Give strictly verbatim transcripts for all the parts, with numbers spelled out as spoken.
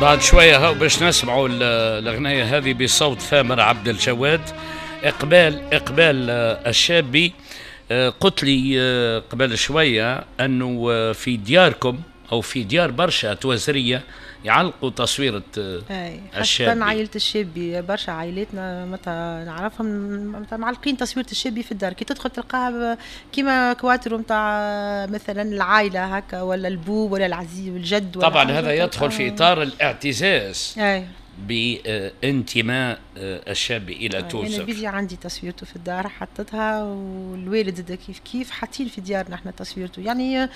بعد شوية هاو باش نسمعوا الأغنية هذه بصوت ثامر عبد الجواد. إقبال إقبال الشابي، قلت لي قبل شوية أنه في دياركم أو في ديار برشا توزرية يعلقوا تصويرة الشابي. خاصة عائلة الشابي، برشا عائلاتنا متى نعرفهم متى معلقين تصويرة الشابي في الدار، كي تدخل تلقاها كيما كواترو نتاع مثلا العائلة هكا، ولا البو ولا العزيز والجد. ولا طبعا هذا يدخل في إطار الاعتزاز أي. بانتماء الشاب الى توزر. انا بيجي عندي تصويرته في الدار حطتها، والوالد كيف كيف حاطين في ديارنا احنا تصويرته، يعني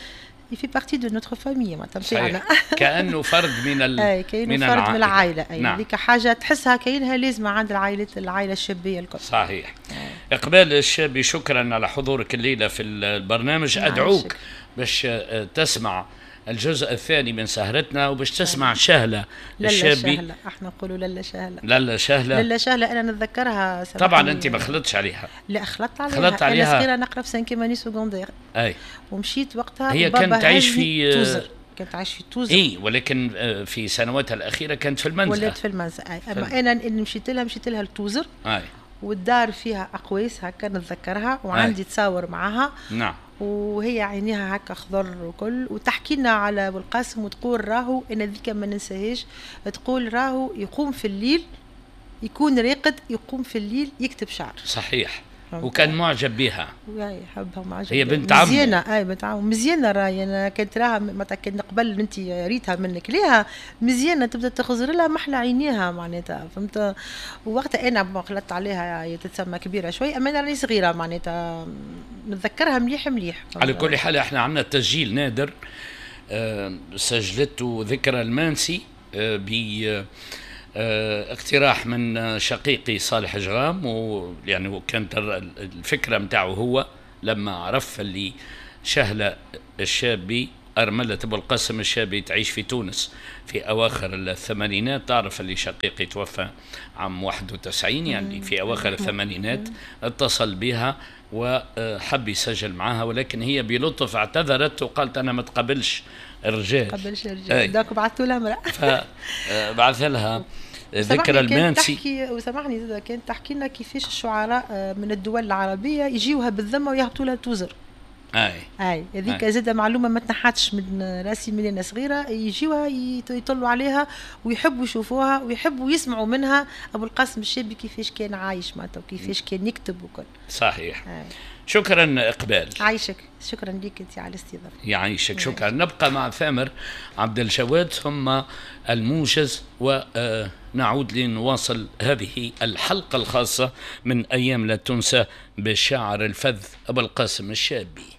il fait partie de notre famille معناتها كأنه فرد من ال... أي كأنه من فرد العائلة. من العائلة أي. نعم. هذيك حاجة تحسها كأنها لازمة عند العائلة العائلة الشابية الكل. صحيح. أي. إقبال الشابي، شكرا على حضورك الليلة في البرنامج. أدعوك باش تسمع الجزء الثاني من سهرتنا وباش تسمع شهلة الشابي. لالا شهلة، احنا نقولوا لالا شهلة. لالا شهلة، لالا شهلة انا نتذكرها. طبعا انت ما خلطتش عليها. لا خلطت عليها، خلطت عليها. انا صغيرة نقرا في cinquième année secondaire. اي. ومشيت وقتها. هي كانت تعيش في توزر. كانت تعيش في توزر. اي، ولكن في سنواتها الاخيرة كانت في المنزه. ولات في المنزه اي. اما انا اللي مشيت لها مشيت لها لتوزر. اي. والدار فيها اقواس هكا نتذكرها، وعندي تصاور معها. نعم. وهي عينيها هكا خضر وكل، وتحكي لنا على ابو القاسم وتقول راهو انا ذيك ما ننساهاش، تقول راهو يقوم في الليل، يكون راقد يقوم في الليل يكتب شعر. صحيح. وكان معجب بها. اي حبها ومعجب. هي بنت عمه. مزيانه، اي بنت عمه مزيانه راهي. انا كنت راها معناتها كان قبل انت ريتها منك ليها مزيانه، تبدا تخزر لها محلى عينيها معناتها، فهمت؟ ووقتها انا خلطت عليها، هي تتسمى كبيرة شوي، اما انا راني صغيرة معناتها نتذكرها مليح مليح. على كل حال احنا عندنا تسجيل نادر أه سجلته ذكرى المانسي أه ب اقتراح من شقيقي صالح جغام، ويعني كانت الفكرة متاعه هو لما عرف اللي شهلة الشابي أرملة أبو القاسم الشابي تعيش في تونس في أواخر الثمانينات. تعرف اللي شقيقي توفى عام واحد وتسعين، يعني في أواخر الثمانينات اتصل بها وحب يسجل معها، ولكن هي بلطف اعتذرت وقالت أنا ما تقبلش الرجال. تقبلش الرجال. donc بعثوا لها امرأة. فبعث لها ذكرى المانسي. تحكي وسامحني زاد كانت تحكي لنا كيفاش الشعراء من الدول العربية يجيوها بالذمة ويهبطوا لها توزر. اي اي هذيك زاد معلومة ما تنحتش من راسي من انا صغيرة، يجيوها يطلوا عليها ويحبوا يشوفوها ويحبوا يسمعوا منها ابو القاسم الشابي كيفاش كان عايش معناتها وكيفاش كان يكتب وكل. صحيح. آي. شكرا اقبال. عايشك، شكرا لك انت على الاستضافة. يعيشك، شكرا. نبقى مع ثامر عبد الجواد ثم الموجز، ونعود لنواصل هذه الحلقة الخاصة من ايام لا تنسى بالشاعر الفذ ابو القاسم الشابي.